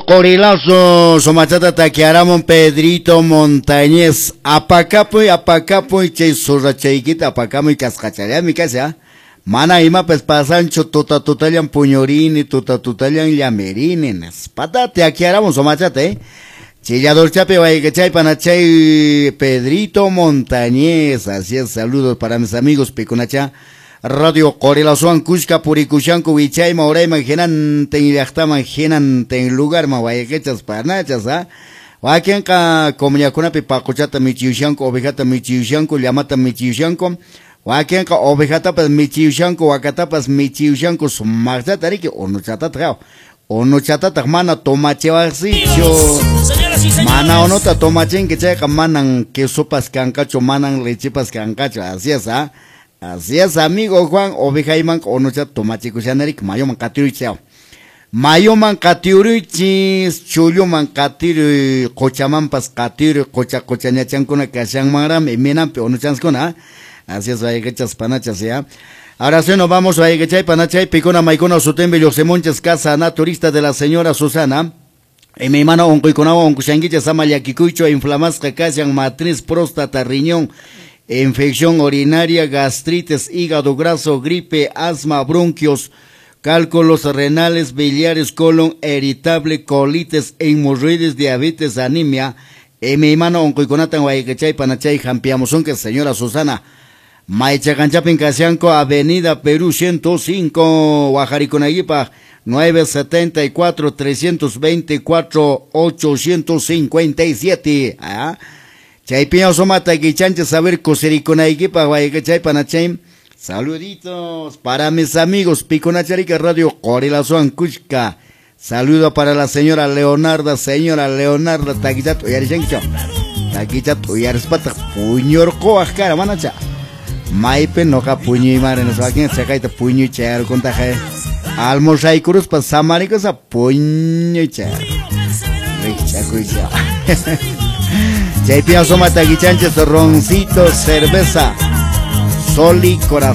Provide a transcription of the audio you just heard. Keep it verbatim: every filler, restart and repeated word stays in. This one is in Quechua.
Qorilazo, sumachata takiaramun Pedrito Montañez. Apakapuy, apakapuy, chay surrachaykita apakamuy kasqachallami kasi, ah. Mana imapas pasanchu, tuta tutallan puñurini, tuta tutallan llamerini, nispa takiaramun sumachata, eh. Chilladorchapi wayqichay panachay Pedrito Montañez. Así es, saludos para mis amigos pikunacha. Radio Qorilazowan kushka purikushanku wichayman urayman hinantin llaqtaman hinantin lugarman wayqichas panachas, ah. Wakinqa comunidadkunapi paquchata michiyushanku, ovejata michiyushanku, llamata michiyushanku. Wakinqa ovejatapas michiyushanku, wakatapas michiyushanku sumaqchata riki unuchatataq unuchatataq mana tomachiwaqsichu. Mana unuta tomachinki chayqa manan quesopas kanqachu, manan lechepas kanqachu. Así es, ah. Así es, amigo Juan, ovejayman unuchata tomachikushanariki mayuman qatiruychis. Mayuman qatiruychis, chulluman qatiruy, qochamanpas qatiruy, qocha qochañachankuna kashanmanrami, imaynanpi unuchanskuna. Así es, wayqichas panachas, ya. Ahora sí nos vamos, wayqichay panachay, pikuna maykuna sutimbi lluqsimunchis casa naturista de la señora Susana. Y mi hermano onquykunawan onqushankichis ama llakikuychu, inflamasqa kashan matriz, próstata, riñón, infección urinaria, gastritis, hígado graso, gripe, asma, bronquios, cálculos renales, biliares, colon irritable, colitis, hemorroides, diabetes, anemia. Y mi hermano onquykunatan wayqichay panachay hampiamusunki señora Susana. Maychaqanchapin kashanku, Avenida Perú ciento cinco, Wajarikunaykipaq, nueve setenta y cuatro, trescientos veinticuatro, ochocientos cincuenta y siete. ¿Ah? Chaypiña sumata kichanchis saber kusirikunaykipaq wayqichay panachay. Saluditos para mis amigos Piconacharica Radio Qorilazowan kushka. Saludo para la señora Leonarda, señora Leonarda, takichat uyarishankichu. Takichat uyarispataq puñurquwaq kara manacha. Maypi noqa puñuymari nispa chaqayta puñuy chayarkuntaqa almursaykuruspa samarikuspa puñuy chayar. Rikch'akuycha. Chaypiña sumata kichanchis roncito, cerveza, sol y corazón.